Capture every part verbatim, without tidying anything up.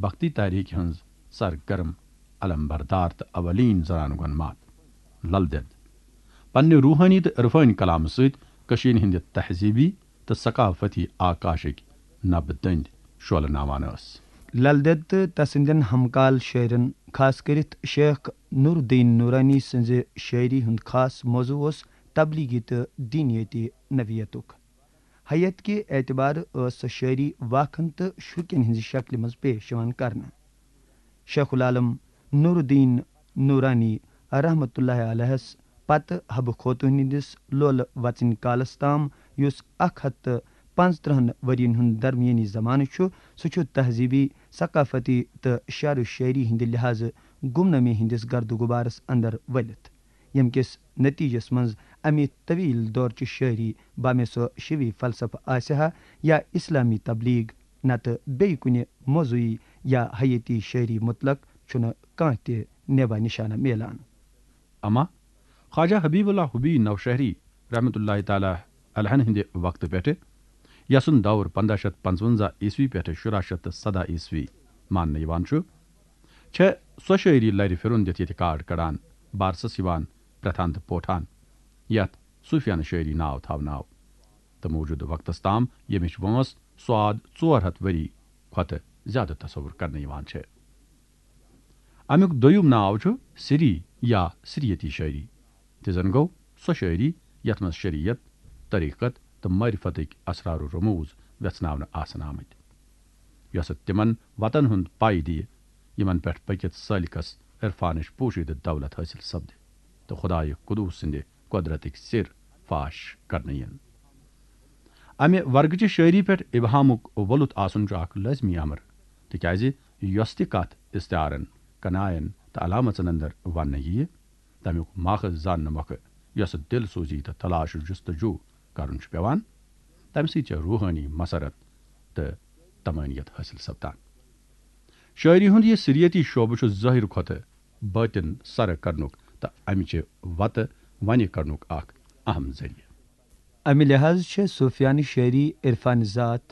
بھکتی تحریک ہٕنٛز سرگرم علمبردار تہٕ اولین زنانہٕ گۄنمات لل دٮ۪د۔ پننہِ روحٲنی تہٕ عرفٲنی کلامہٕ سۭتۍ کٔشیٖرِ ہٕنٛدِ تہذیٖبی تہٕ ثقافتی آکاشٕکۍ نبہٕ دٔنٛدۍ شولہٕ ناوان ٲس۔ لل دٮ۪د تہٕ تسٕنٛدٮ۪ن ہمکال شٲعرن، خاص کٔرِتھ شیخ نور الدین نورانی سٕنٛزِ شٲعری ہُنٛد خاص موضوع اوس تبلیغی تہٕ دینیٲتی نوعیتُک۔ ہیئت کہِ اعتبارٕ ٲس سۄ شٲعری واکھن تہٕ شرکن ہٕنٛزِ شکلہِ منٛز پیش یِوان کرنہٕ۔ شیخ العالم نور الدین نورانی رحمتہ اللہ علیہس پتہٕ حبہٕ خوتون ہٕنٛدِس لولہٕ وژنۍ کالس تام، یُس اکھ ہتھ تہٕ پانٛژترٕٛہن ؤرین ہُنٛد درمیٲنی زمانہٕ چھُ، سُہ چھُ تہذیٖبی، ثقافتی تہٕ شعر و شٲعری ہٕنٛدِ لحاظہٕ گمنامی ہٕنٛدِس گرد و غبارس اندر ؤلِتھ، ییٚمہِ کِس نتیجس منٛز امہِ طویل دورچہِ شٲعری، بامے سۄ شیوی فلسفہٕ آسہِ ہا یا اسلامی تبلیغ، نتہٕ بیٚیہِ کُنہِ موضوعی یا حیٲتی شٲعری متعلق چھُنہٕ کانٛہہ تہِ نیبا نشانہ میلان۔ اما خواجہ حبیب اللہ حبی نوشہری رحمتہ اللہ تعالیٰ علیہن ہٕنٛدِ وقتہٕ پٮ۪ٹھٕ، یسُنٛد دور پنٛداہ شیٚتھ پانٛژونٛزاہ عیسوی پٮ۪ٹھٕ شُراہ شیٚتھ تہٕ سداہ عیسوی ماننہٕ یِوان چھُ، چھےٚ سۄ شٲعری لرِ پھِرُن دِتھ ییٚتہِ کارڈ کڑان، بارسس یِوان پرٛتھان تہٕ پوٹھان، یتھ صوٗفیانہٕ شٲعری ناو تھاونہٕ آو، تہٕ موجودٕ وقتس تام ییٚمِچ وٲنٛس سواد ژور ہتھ ؤری کھۄتہٕ زیادٕ تصور کرنہٕ یِوان چھےٚ۔ امیُک دوٚیُم ناو چھُ سری یا سریتی شٲعری، تہٕ زن گوٚو سۄ شٲعری یتھ منٛز شریعت، طریقت تہٕ معرفتٕکۍ اسرار و رموز ویژھناونہٕ آسن آمٕتۍ، یۄسہٕ تِمن وتن ہُنٛد پاے دِیہِ، یِمن پٮ۪ٹھ پٔکِتھ سٲلِکس عرفانٕچ پوشیدٕ دولت حٲصِل سپدِ تہٕ خدایہِ قدوس سٕنٛدِ قۄدرتٕکۍ سِر فاش کرنہٕ یِن۔ امہِ ورگہٕ چہِ شٲعری پٮ۪ٹھ ابہامُک ولُت آسُن چھُ اکھ لٲزمی امر، تِکیازِ یۄس تہِ کتھ استعارن، کناین تہٕ علامژن اندر وننہٕ یِیہِ، تمیُک ماخذ زاننہٕ مۄکھٕ یۄسہٕ دل سوزی تہٕ تلاش و جستجو کرُن چھُ پٮ۪وان، تمہِ سۭتۍ چھےٚ روحٲنی مسرت تہٕ تمٲنیت حٲصِل سپدان۔ شٲعری ہُنٛد یہِ سریتی شعبہٕ چھُ ظٲہر کھۄتہٕ بٲطن سرٕ کرنُک تہٕ امہِ چہِ وتہٕ ونہِ کرنُک اکھ اہم ذٔریعہٕ۔ امہِ لحاظ چھےٚ صوفیانہٕ شٲعری عرفان ذات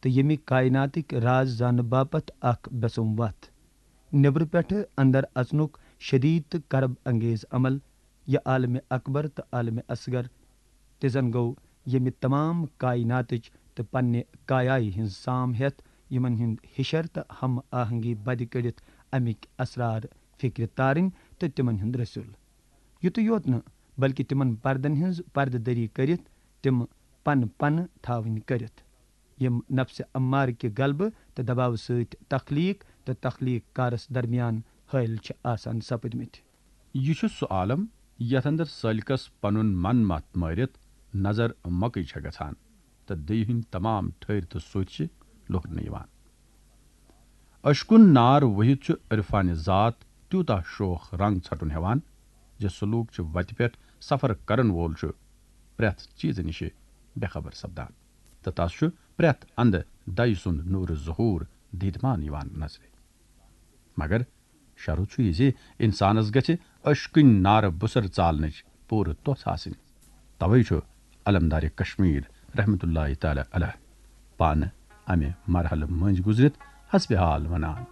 تہٕ ییٚمہِ کائناتٕکۍ راز زاننہٕ باپتھ اکھ بیسوم وتھ۔ نیبرٕ پٮ۪ٹھٕ اندر اژنُک شدید تہٕ کرب انگیز عمل، یہِ عالم اکبر تہٕ عالم اصغر، تہِ زن گوٚو ییٚمہِ تمام کائناتٕچ تہٕ پننہِ کایایہِ ہٕنٛز سام ہٮ۪تھ، یِمن ہُنٛد ہِشر تہٕ ہم آہنگی بدِ کٔڑِتھ امِکۍ اسرار فکرِ تارٕنۍ تہٕ تِمن ہُنٛد رسول۔ یُتُے یوت نہٕ، بلکہِ تِمن پردن ہٕنٛز پردٕ دٔری کٔرِتھ تِم پن پنہٕ تھاوٕنۍ کٔرِتھ، یِم نفسِ امارٕ کہِ غلبہٕ تہٕ دباوٕ سۭتۍ تخلیق تہٕ تخلیق کارس درمیان حٲیِل چھِ آسان سپٕدمٕتۍ۔ یہِ چھُ سُہ عالم یتھ اندر سٲلِکس پنُن من متھ مٲرِتھ نظر مۄکٕے چھےٚ گژھان تہٕ دٕیہِ ہٕنٛدۍ تمام ٹھٔرۍ تہٕ سوٚتھۍ چھِ لوٚکھنہٕ یِوان۔ اشکُن نار وُہِتھ چھُ عرفانِ ذات تیوٗتاہ شوخ رنگ ژھٹُن ہٮ۪وان زِ سلوک چہِ وتہِ پٮ۪ٹھ سفر کرن وول چھُ پرٛٮ۪تھ چیٖزٕ نِشہِ بے خبر سپدان تہٕ تس چھُ پرٛٮ۪تھ اندٕ دَیہِ سُنٛد نوٗرٕ ظہوٗر دیٖدمان یِوان نظرِ۔ مگر شرط چھُ یہِ زِ انسانس گژھِ اشکٕنۍ نارٕ بُسر ژالنٕچ پوٗرٕ توٚژھ آسٕنۍ۔ توے چھُ علمدار کشمیر رحمتہ اللہ تعالیٰ علیہ پانہٕ امہِ مرحلہٕ مٔنٛزۍ گُزرِتھ حسبِ حال ونان۔